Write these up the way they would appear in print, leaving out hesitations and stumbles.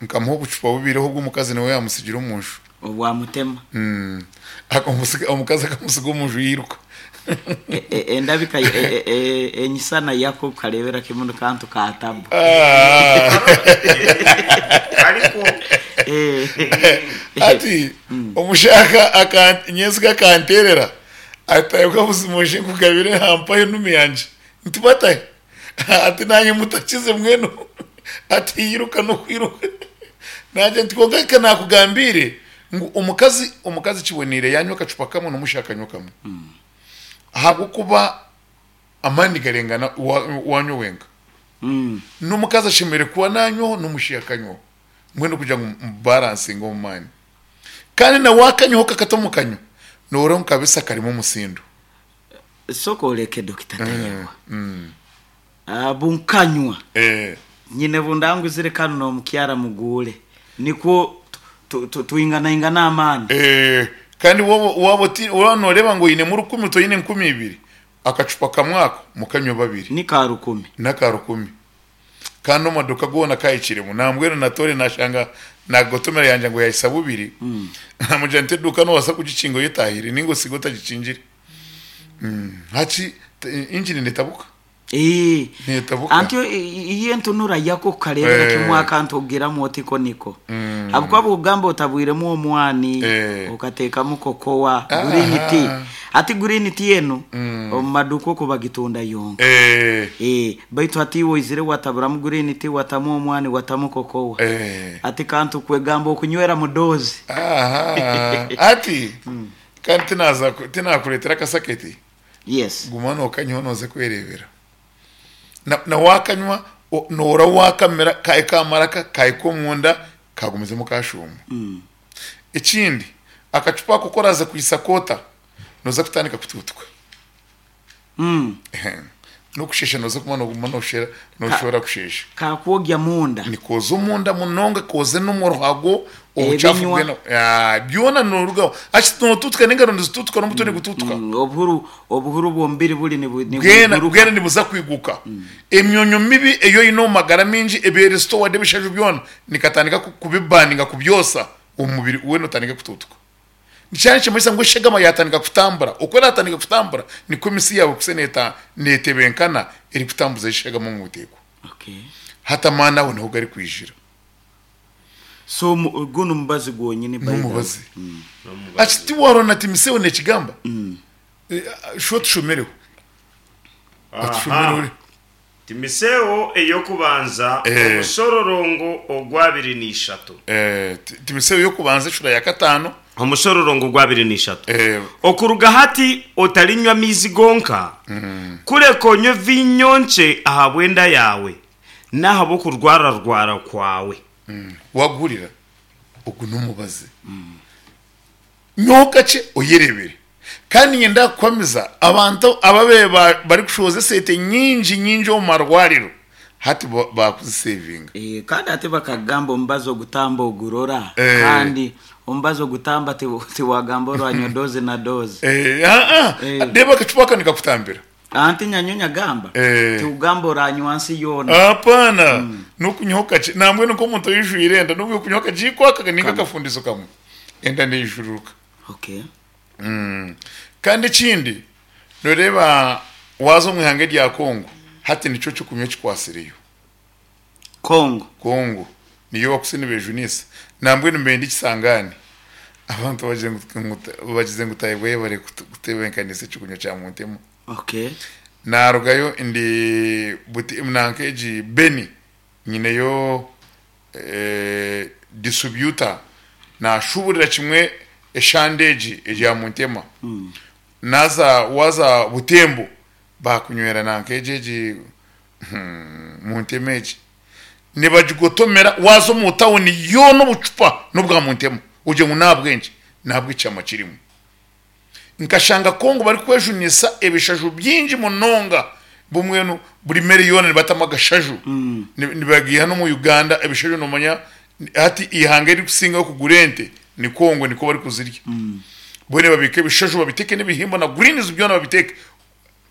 Nkamuha obucupa bubiri obwo omukazi niwe yaamutsigira omu nju. Obwamutema. Akamutsiga, omukazi akamutsiga omu nju yairuka. Endabika, enyisana yako okareebera kimwe ni kantu ka tabu. Karikwo. Hati omushaaha nyentsya akanteerera ati Tayebwa buzima oije nkugabire aha mpaho enumi yangye. Nti batahe? Ati naanye mutakize mbwenu ati iruka n'okwiruka. Naagira nti kwonka ka naakugambiire ngu omukazi omukazi kiboneire yaanywa akacupa kamwe n'omushaija akanywa kamwe. Ahabw'okuba amaani garengana waanywa wenka. N'omukazi ashemereire kuba naanywaho n'omushaija akanywaho mbwenu kugira ngu mubaransinge omu maani. Kandi na waakanywaho kakata omu kanywa nooreba ngu kabisa karimu omutsindo. Soka oreke Dokita Tayebwa. Bunkanywa nyine bundanguzire kanu n'omukyara muguure nikwo twinganaingane amaani. Kandi waaba nooreeba ngu oinemu rukumi toine 2000, akacupa kamwe ako mukanywe babiri. Ni ka rukumi. N'aka rukumi. Kandi omu maduuka goona kahikiremu. Nambwenu natoore nashanga nagotomera yangya ngu yahisa bubiri, namugira nti eduuka nobaasa kugikinga oyetahire ninga osige otagikingire. Hati engine netabuka. Netabuka. Anti iyo entunura yako okareebera kimwe akantu ogiramu oti ko niko. Ahabw'okuba bw'okugamba otabwiremu omwani, okateekamu kokowa, green tea. Hati green tea enu omu maduuka okwo bagitunda yonka. Baitu hati iwe oizire wataburamu green tea, watamu omwani, watamu kokowa. Hati kantu kwegamba okunywera doozi. Hati kandi tinaza tinakureetera akasaketi Yes. guma nookanywa nooza kwereebera. Na na waakanywa noora waakamira kahika aha maraka kahika omunda kagumizemu kashuuma. Ekindi akacupa ako ku oraaze kwitsa koota nooza kutandika kutuutuka. N'okusheesha nooza kuguma nooguma nooshoora kusheesha. Kaakwogya munda. Nikooza omunda munonga kooze n'omu ruhago obucaafu Ebinywa. bwena byona noorugaho. Hati nootuutuka n'engaro nizituutuka n'omutwe nigutuutuka. Obuhuru obuhuru bw'omubiri buri Bwena nibwiguruka. bwena nibuza kwiguka. Emyonyo mibi ei oine omu magara maingi eba eri stored ebishaju byona nikatandika kubibaninga kubyosa omu mubiri weena otandike kutuutuka. Kyaba nikimanyisa ngu eshagama yaatandika kutambura. Oku eraatandika kutambura, nikwo emisi yaawe ekusa neetebenkana erikutambuza eshagama omu buteekwa. Hati amaani aho niho garikwijira. So gunu mubazi gwonyini by the way. N'omubazi. Ati tiwaarora na Timotheo neekigamba? Shuba otushomereho. Otushomereho. Timotheo ey'okubanza omushororongo ogw'abiri na ishatu. Timotheo ey'okubanza eshura ya kataano. Omushororongo ogw'abiri na ishatu. Okuruga hati otarinywa amaizi gonka, kureka onywe viinyo nkye ahabw'enda yaawe n'ahabw'okurwararwara kwawe. Waaguhurira? Ogu n'omubazi. Nyowe kakye oyerebere. Kandi niinyenda kukuhamiza abantu ababaire barikushohoza esente nyingi nyingi omu marwariro hati baakuzisevinga. Kandi hati bakagamba omubazi ogutamba ogurora kandi omubazi ogutamba tiwagamba oranywa doozi na doozi. Reeba akacupa aka nikakutambira. Anti nyanyowe nyagamba tiwugamba oranywa nsi yoona. Apana n'okunywaho kakye nambwenu nk'omuntu oijwire enda n'obu yokunywa akagiiko aka ninga akafundizo kamwe enda neijururuka. Okay. Kandi ekindi noreeba waaza omu ihanga erya Congo hati nikyo ky'okunywa ekikwatsireyo. Congo. Congo niyo bakutsya nibejunisa. Nambwenu nibenda ekisangani. Abantu bagize ngu Tayebwa yebare kutebenkanisa ekyokunywa kya Muntema. Okay. Narugayo ndi buti nanka egi Beni nyineyo distributor nashuburira kimwe eshande egi erya Muntema. Naza waza Butembo bakunywera nanka egi egi Muntema egi nibagigotomera waaza omu tawuni yoona obucupa n'obwa Muntema ogire ngu n'ahabw'enki? N'ahabw'ekyama kirimu. Nkashanga Congo barikwejunisa ebishaju bingi munonga mbwenu buri mere yoona nibatamu agashaju nibagiiha n'omu Uganda ebishaju noomanya hati eihanga eririkusingayo kugura ente ni Congo nikwo barikuzirya mbwenu nibabiika ebishaju babiteeke n'ebihimba na greens byona babiteeke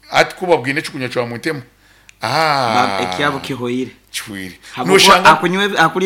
Hati ku babwine ekikunywa kya Muntema, Ekyabo kihoire. Kihweire. Habwokuba Noshanga akunywa akurya.